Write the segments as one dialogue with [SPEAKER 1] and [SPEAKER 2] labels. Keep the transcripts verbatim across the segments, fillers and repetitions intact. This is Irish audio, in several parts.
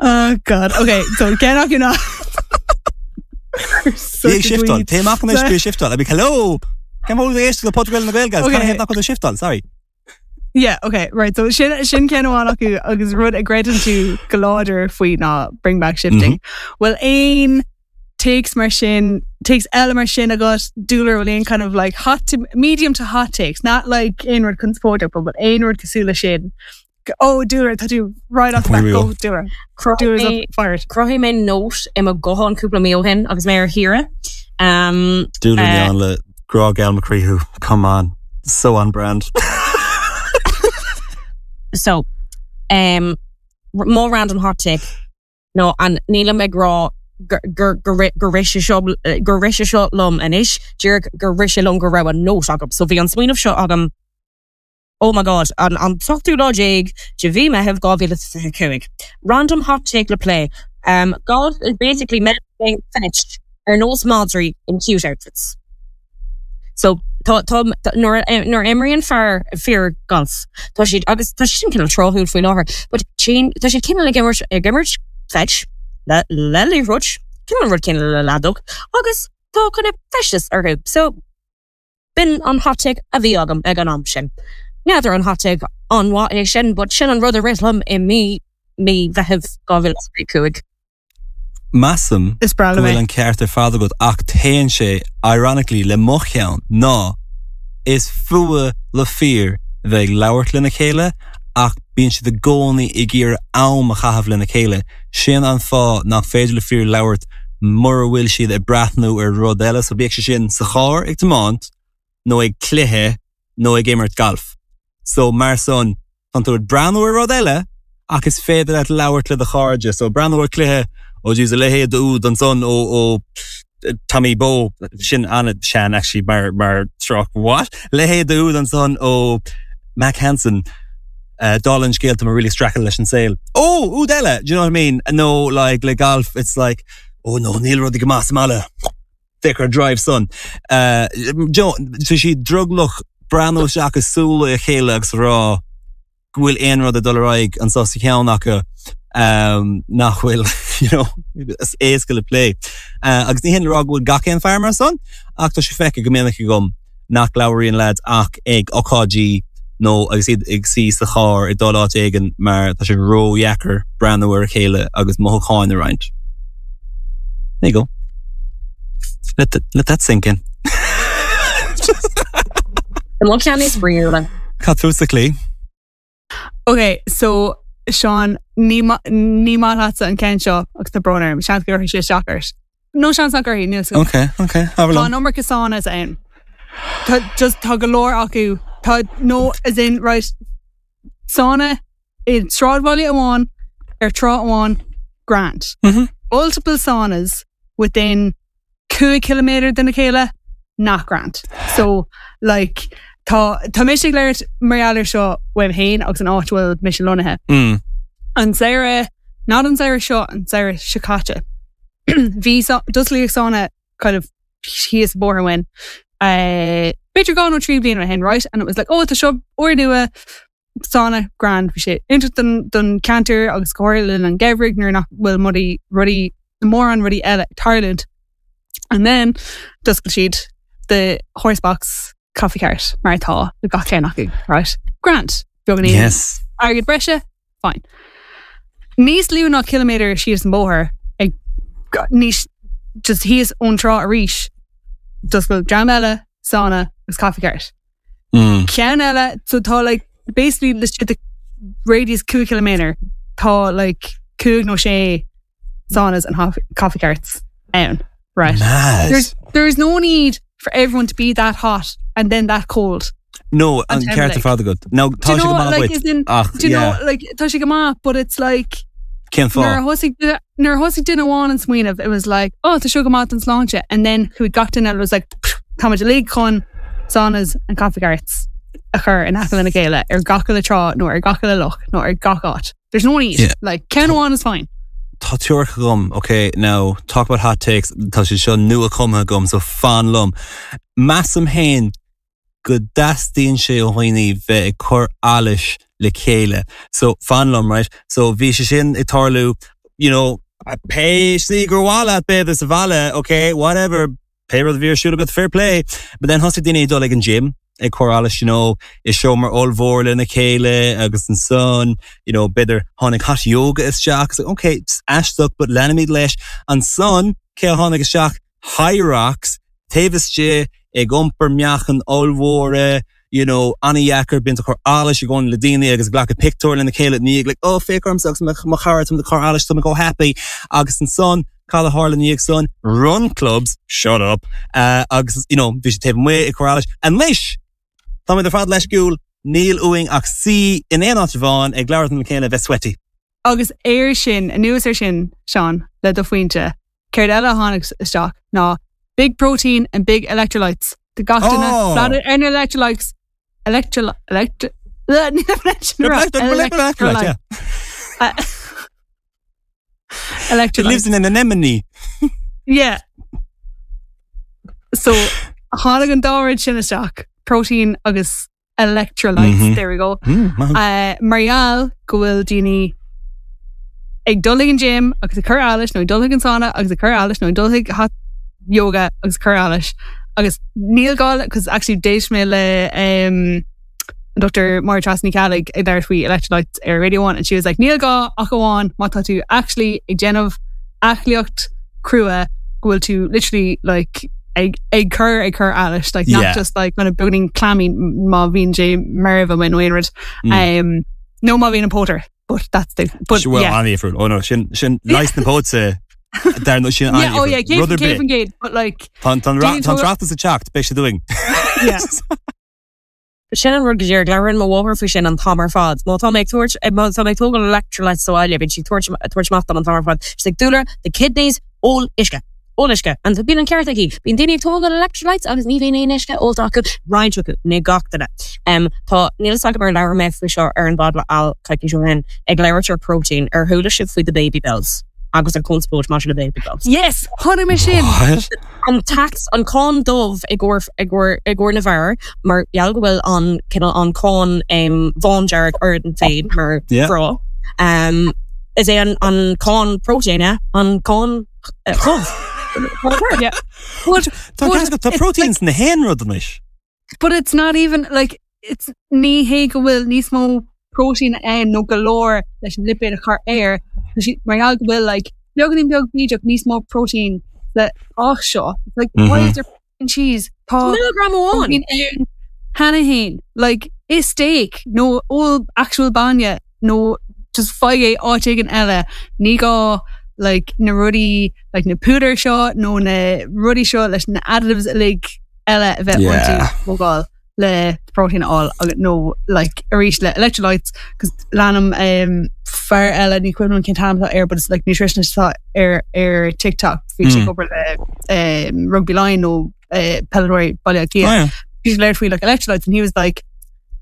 [SPEAKER 1] Oh God. Okay, so ceann acu ná
[SPEAKER 2] Bí ag shiftáil. Téigh amach anois bí ag shiftáil. I'd be hello. Cén fáth éist le podchraoladh na Gaeilge?
[SPEAKER 1] Okay.
[SPEAKER 2] Cén nach bhfuil shiftáil? Sorry.
[SPEAKER 1] Yeah, okay, right. So sin sin ceann amháin acu agus rud a gcreideann tú go láidir faoi ná bring back shifting. Well aon takes mar sin takes eile mar sin agat dúlar bhfuil aon kind of like hot to medium to hot takes, not like aon rud conspóideach, but aon rud cosúil le sin. Oh, dúlar tá tú right off the bat
[SPEAKER 2] Here we
[SPEAKER 1] go
[SPEAKER 2] go.
[SPEAKER 1] dúlar. Dúlar's up fired.
[SPEAKER 3] Chruthaigh mé note i mo ghuthán cúpla mí ó shin agus mé ar shaoire. Um,
[SPEAKER 2] Dúla
[SPEAKER 3] Uh,
[SPEAKER 2] uh, le grá geal mo chroí thú. Come on. So on brand.
[SPEAKER 3] so um, r- more random hot take. No, an nílim ag rá gur gur gur gur rith sé seo gur rith sé seo liom anois, díreach gur rith sé liom go raibh an note agam. So bhí an smaoineamh seo agam Oh my god, an an tseachtú lá déag de mhí Mheithimh dhá mhíle fiche cúig. Random hot take le plé. Um, golf is basically men playing fetch ar nós madraí in cute outfits. So tá tá tá- nuair a nuair a imríonn fear fir golf Tá siad agus tá sin cineál tráthúil faoi láthair, but sin tá siad cineál ag imirt ag imirt fetch le le liathróid cineál rud cineál le leadóg agus tá kind of feisteas orthu. So b'in an hot take a bhí agam ag an am sin. N'fheadar an hot take an-mhaith é sin, but sin an rud a rith liom i mí mí Mheithimh dhá mhíle cúig.
[SPEAKER 2] Measaim
[SPEAKER 1] Is breá
[SPEAKER 2] go
[SPEAKER 1] liom
[SPEAKER 2] bhfuil
[SPEAKER 1] é.
[SPEAKER 2] an ceart ar fad agat ach téann sé ironically le mo cheann ná is fuath le fir bheith ag labhairt lena chéile ach bíonn siad i gcónaí ag iarraidh am a chaitheamh lena chéile. Sin an fáth nach féidir le fir labhairt mura bhfuil siad ag breathnú ar rud eile, so bíodh sé sin sa charr ag tiomáint nó ag cluiche nó ag imirt galf. So mar son tá tú ag breathnú ar rud eile ach is féidir leat labhairt le do chairde, so breathnú ar cluiche ó dús a leithéid úd ansan ó ó Tommy Bo sin an-sean actually mar mar tráth what leithéid úd ansan ó Mac Hansen uh, dála an scéil tá mé really streachailt leis an saol. Oh úd eile, do you know what I mean? No like le golf it's like oh no níl rudaí go maith sa mbaile. Thicker drive son. Uh, Joe, tá sí drogallach breathnú isteach i súile a chéile agus rá go bhfuil aon rud ag dul ar aghaidh anseo sa cheann acu um, nach bhfuil you know, is éasca le plé. Uh, agus ní hin le rá go bhfuil gach aon fear mar san ach tá sé feicthe go minic agam nach labhraíonn lads ach ag ócáidí nó agus iad ag suí sa charr ag dul áit éigin mar tá sé ródheacair breathnú ar a chéile agus mothúcháin a roinnt. There you go. Let, that, let that sink in.
[SPEAKER 3] An ceann is spraíúla.
[SPEAKER 2] Cad fútsa Clí?
[SPEAKER 1] Okay, so Sean ní ma- ní maith leatsa an ceann seo agus tá brón orm, seans go gcuirfidh sé isteach ort. No seans nach gcuirfidh, níl a
[SPEAKER 2] Okay, okay. Have
[SPEAKER 1] Tá an iomarca saunas ann. Tá just tá go leor acu tá no as in right sauna i sráidbhaile amháin ar trá amháin grand.
[SPEAKER 2] Mhm.
[SPEAKER 1] Multiple saunas within cúig kilometer den chéile nach grand. So like tá tá mise ag labhairt mar gheall seo uaim féin agus an áit bhfuil mise lonnaithe.
[SPEAKER 2] Mm.
[SPEAKER 1] An samhradh not an samhradh seo an samhradh seo caite. Bhí d'osclaíodh sauna kind of thíos bóthar uainn. Uh, B'fhéidir dhá nó trí bliana ó shin, right? And it was like, oh, tá seo úrnua sauna grand bhí sé iontach don don ceantar agus go háirithe an geimhreadh nuair nach bhfuil mudaí rudaí mórán rudaí eile ag tarlúint. And then d'oscail siad the horse box coffee cart mar atá le gach ceann acu, right? Grand. Beagáinín
[SPEAKER 2] Yes.
[SPEAKER 1] airgead breise, fine. Níos lú ná kilometer síos an bóthar ag níos just thíos ón trá arís d'oscail dream eile sauna agus coffee cart.
[SPEAKER 2] Mm.
[SPEAKER 1] Ceann eile so tá like basically laistigh de radius cúig kilometer tá like cúig nó sé saunas and coffee, coffee carts ann. Right.
[SPEAKER 2] Mad.
[SPEAKER 1] There's there's no need for everyone to be that hot and then that cold.
[SPEAKER 2] No, an
[SPEAKER 1] An
[SPEAKER 2] ceart
[SPEAKER 1] like-
[SPEAKER 2] fad agat. No,
[SPEAKER 1] Do
[SPEAKER 2] tá
[SPEAKER 1] you
[SPEAKER 2] sé go
[SPEAKER 1] know,
[SPEAKER 2] maith
[SPEAKER 1] like,
[SPEAKER 2] duit.
[SPEAKER 1] as in,
[SPEAKER 2] Ach,
[SPEAKER 1] do you
[SPEAKER 2] yeah.
[SPEAKER 1] know, like tá sé go maith, but it's like
[SPEAKER 2] Cén
[SPEAKER 1] nuair a
[SPEAKER 2] fáth?
[SPEAKER 1] thosaigh duine- nuair a thosaigh duine amháin an smaoineamh, it was like, oh, tá seo go maith don sláinte, and then chuaigh gach duine eile was like, tá muid uilig chun saunas and coffee carts a chur in aice lena chéile ar gach uile trá nó ar gach uile loch nó ar gach áit. There's no need.
[SPEAKER 2] Yeah.
[SPEAKER 1] Like ceann amháin is fine.
[SPEAKER 2] Tá teoiric agam, okay, now talk about hot takes, tá sé seo nua cumtha agam, so fan liom. Measaim féin go dteastaíonn sé ó dhaoine bheith ag cur allais le chéile. So fan liom, right? So bhí sé sin ag tarlú, you know, pé slí gur mhaith leat b'fhéidir sa bhaile, okay, whatever, pé rud a bhí ar siúl agat fair play, but then thosaigh daoine ag dul ag an gym ag cur allais, you know, i seomra ollmhór lena chéile agus ansan, you know, b'fhéidir tháinig hot yoga isteach, agus okay, it's aisteach, but leanaimid leis. Ansan cé a tháinig isteach Hyrox, taobh istigh ag iompar meáchan ollmhóra, you know, an-dheacair bíonn tú ag cur allais i gcónaí le daoine agus ag glacadh pictiúr lena chéile ní like, oh, féach ormsa agus mo chara tá ag cur allais tá go happy agus ansan cad a tharla ina dhiaidh san run clubs, shut up, uh, agus you know, bhí sé taobh amuigh ag cur allais. Anois Táimid ar fad leisciúil níl uainn ach suí in aon áit amháin ag labhairt lena chéile bheith sweaty.
[SPEAKER 1] Agus air sin, anuas ar sin, Seán, le do phointe, céard eile a tháinig isteach ná big protein and big electrolytes. De gach duine
[SPEAKER 2] Oh.
[SPEAKER 1] flat ar na electrolytes electro electro
[SPEAKER 2] Electrolyte, yeah. It
[SPEAKER 1] electrolytes.
[SPEAKER 2] lives in an anemone.
[SPEAKER 1] Yeah. So tháinig an dá rud sin isteach, protein agus electrolytes,
[SPEAKER 2] Mhm.
[SPEAKER 1] there we go.
[SPEAKER 2] Mm, maith.
[SPEAKER 1] Uh, mar gheall go bhfuil daoine ag dul ag an gym agus ag cur allais nó ag dul ag an sauna agus ag cur allais nó ag dul ag hot yoga agus cur allais agus níl gá cos actually d'éist mé le um, Dr. Máire Treasa Ní Cheallaigh ag labhairt faoi electrolytes ar Radio One and she was like níl gá ach amháin má tá tú actually ag déanamh aclaíocht crua go bhfuil tú literally like ag ag cur ag cur allais like not
[SPEAKER 2] Yeah.
[SPEAKER 1] just like kind of beagáinín clammy má bhíonn sé marbh amuigh nó aon rud
[SPEAKER 2] Mm.
[SPEAKER 1] um no má bhíonn an pótar but that's the but
[SPEAKER 2] well,
[SPEAKER 1] yeah
[SPEAKER 2] an-difriúil. Oh no, sin sin leis na póte dar no sin
[SPEAKER 1] yeah oh yeah
[SPEAKER 2] rud ar
[SPEAKER 1] céad
[SPEAKER 2] bith.
[SPEAKER 1] faoin gcéad but like
[SPEAKER 2] Tá
[SPEAKER 1] Déan
[SPEAKER 2] tá
[SPEAKER 1] tú-
[SPEAKER 2] tráchtas a teacht beidh sé doing.
[SPEAKER 1] yeah
[SPEAKER 3] Sin an rud go dtír labhraíonn mo mháthair faoi sin an t-am ar fad. Má tá mé ag tabhairt má tá mé ag tógáil electrolytes sa bhaile, bíonn sí tabhairt tabhairt amach dom an t-am ar fad. She's like dúla, the kidneys, ól uisce. Ól uisce. And bíonn an ceart aici. Bíonn daoine ag tógáil electrolytes agus ní bhíonn aon uisce ólta acu roinnt acu ní gach duine. Um, tá níl a fhios agam ar labhair mé faoi seo ar an bpod le Al coicís ó shin ag labhairt ar protein ar chuala sibh faoi the baby bills agus an conspóid maidir le baby bills.
[SPEAKER 1] yes chonaic mé sin
[SPEAKER 2] What?
[SPEAKER 3] an tax an cáin dubh i gcomhair i gcomhair i gcomhair na bhfear mar gheall go bhfuil an cineál an cáin um, bhándearg orainn féin mar
[SPEAKER 2] Yeah.
[SPEAKER 3] mná um, is é an an cáin protein an cáin uh, dhubh.
[SPEAKER 1] yeah but
[SPEAKER 2] Tá
[SPEAKER 1] But
[SPEAKER 2] tá
[SPEAKER 1] it's
[SPEAKER 2] proteins na haon rud anois.
[SPEAKER 1] but it's not even like it's ní hé go bhfuil níos mó protein ann nó go leor leis an lipéad a chur air Tá sí- mar gheall go bhfuil like beagáinín beag bídeach níos mó protein le ach seo It's like why
[SPEAKER 2] Mhm.
[SPEAKER 1] is there f***ing cheese Tá
[SPEAKER 3] Milligram amháin.
[SPEAKER 1] protein ann cheana féin like is steak nó ól actual bainne nó just faigh é áit éigin eile ní gá like na rudaí like na púdair seo nó na rudaí seo leis na additives uilig eile a bheith
[SPEAKER 2] Yeah.
[SPEAKER 1] iontu thógáil le protein a fháil agus nó like arís le electrolytes cos leanaim um, fear eile ní cuimhin liom cén t-ainm atá air but it's like nutritionist atá ar ar TikTok bhí sé
[SPEAKER 2] Mm.
[SPEAKER 1] ag obair le um, rugby line nó uh, peileadóirí Baile Átha Cliath.
[SPEAKER 2] Oh, yeah.
[SPEAKER 1] He's labhairt faoi like electrolytes and he was like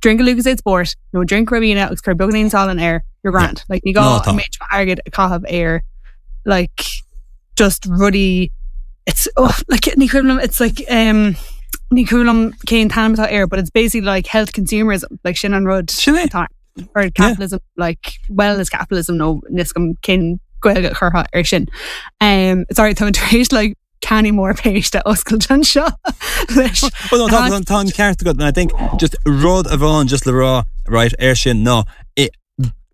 [SPEAKER 1] drink a Lucozade Sport nó drink Ribena agus cuir beagáinín salann air you're grand like ní gá
[SPEAKER 2] No, tá.
[SPEAKER 1] an méid airgid a chaitheamh air like just rudaí it's oh, like ní cuimhin liom it's like um ní cuimhin liom cén t-ainm atá air but it's basically like health consumerism like sin an rud
[SPEAKER 2] Sin é.
[SPEAKER 1] atá or capitalism like wellness capitalism nó níl 's agam cén Gaeilge curtha ar sin um sorry tá tar éis like canny mór péiste a oscailt anseo leis
[SPEAKER 2] Well, no, tá tá an ceart agat and I think just rud amháin just le rá right air sin ná i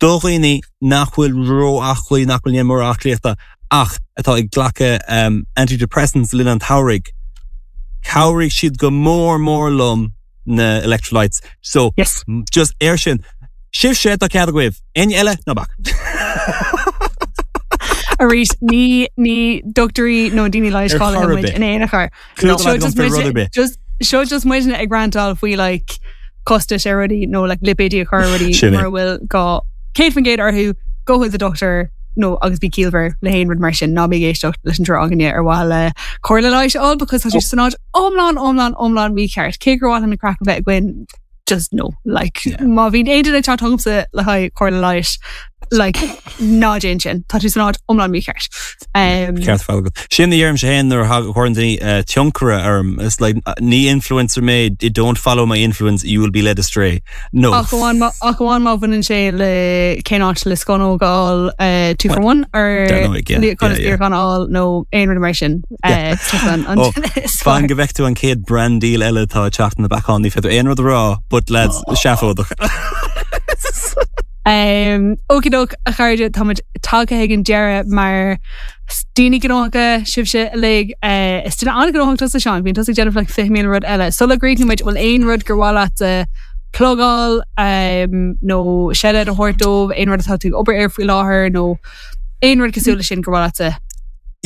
[SPEAKER 2] do dhaoine nach bhfuil ró-aclaí nach bhfuil mór aclaíochta ach atá ag glacadh um, antidepressants le linn an tsamhraidh. Cabhraigh siad go mór mór liom na electrolytes. So
[SPEAKER 1] yes
[SPEAKER 2] just air sin. Sibh sé tá cead agaibh. Éinne eile ná bac.
[SPEAKER 1] arís ní ní dochtúirí nó daoine leighis
[SPEAKER 2] Ar
[SPEAKER 1] cáilithe
[SPEAKER 2] chor ar
[SPEAKER 1] muid
[SPEAKER 2] bith.
[SPEAKER 1] in aon chor.
[SPEAKER 2] Clú
[SPEAKER 1] Seo
[SPEAKER 2] agam
[SPEAKER 1] just
[SPEAKER 2] fé rud ar
[SPEAKER 1] muid-
[SPEAKER 2] bith.
[SPEAKER 1] just seo just muidne ag rantáil faoi like costais ar rudaí nó like lipéidí a chur ar rudaí
[SPEAKER 2] Sin é.
[SPEAKER 1] mar bhfuil gá céad faoin gcéad orthu go chuig the doctor nó agus bí ciallmhar le haon rud mar sin ná bí ag éisteacht leis an triúr againne ar mhaithe le comhairle leighis a fháil because tá sé san áit iomlán iomlán iomlán mícheart cé gur mhaith an craic a bheith againn just no like
[SPEAKER 2] Yeah.
[SPEAKER 1] má bhíonn aon duine ag teacht chugamsa le haghaidh comhairle leighis Like ná déan sin tá tú san áit iomlán mícheart. Um,
[SPEAKER 2] Ceart fáil. Sin a deirimse féin nuair a chuireann daoine uh, tionchar orm It's like uh, ní influencer mé don't follow my influence you will be led astray. No.
[SPEAKER 1] Ach amháin ach amháin má bhaineann sé le cén áit le scannógáil uh, two for one or gan á nó aon rud mar sin
[SPEAKER 2] uh, Oh, Fan go bhfeicfidh tú an chéad brand deal eile tá teacht na beán ní féidir aon rud a rá, but lads seafóideach.
[SPEAKER 1] Um, Okey-doke a chairde táimid tagtha ag an deireadh mar daoine gnóthacha sibhse uilig uh, is duine an-ghnóthach tusa Seán, bíonn tusa ag déanamh like fiche míle rud eile. Sula gcríochnóimid bhfuil aon rud gur mhaith leat uh, plugáil um, nó shout-out a thabhairt dóibh aon rud atá tú ag obair air faoi láthair nó aon rud cosúil leis sin gur mhaith leat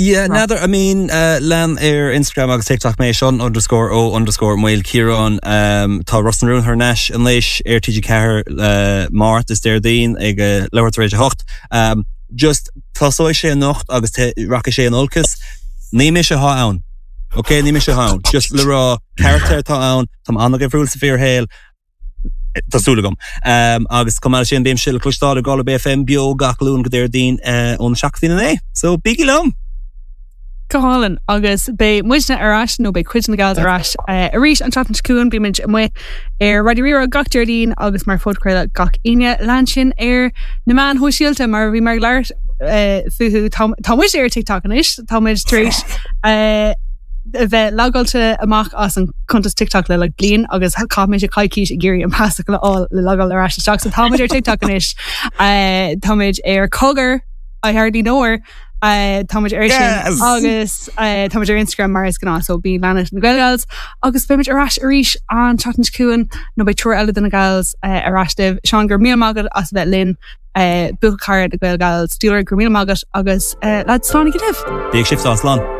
[SPEAKER 2] Yeah, neither. I mean, uh, lean ar Instagram agus TikTok mé Seán underscore o underscore Maolchiaráin um, tá Ros na Rún thar n-ais anois ar TG Ceathair uh, Máirt is Déardaoin ag uh, leathuair tar éis a hocht. Um, just tosóidh sé anocht agus rachaidh sé in olcas, ní mise atá ann. Ok, ní mise atá ann. Just le rá character atá ann, Tá an-difriúil sa fíorshaol, Tá súil agam. Um, agus chomh maith sin bím le cloisteáil ar Galway FM beo gach Luan go Déardaoin uh, ón seacht go naoi. So bígí liom!
[SPEAKER 1] Go hálainn agus beidh muidne ar ais nó beidh cuid na gals ar ais uh, arís an tseachtain seo chugainn bímid amuigh ar Raidió Rí-Rá gach Déardaoin agus mar phodchraoladh gach Aoine lean sinn ar na meáin shóisialta mar bhí mar leir uh, fúthu tá muid ar TikTok anois táimid tar éis uh, a bheith logáilte amach as an cuntas TikTok le le bliain agus chaith mé coicís ag iarraidh an pasfhocal a fháil le logáil ar ais isteach so táimid ar TikTok anois uh, táimid ar Cogar I hardly know her Uh, táimid ar sin agus uh, táimid ar Instagram mar is gnáth so bí lean na Gaelgals agus beimid ar ais arís an tseachtain seo chugainn nó beidh triúr eile de na gals uh, ar ais libh Seán go raibh míle maith agat as bheith linn uh, buachaire na Gaelgals dúir go raibh míle maith agat agus uh, le slán go libh.
[SPEAKER 2] Bí sibh slán.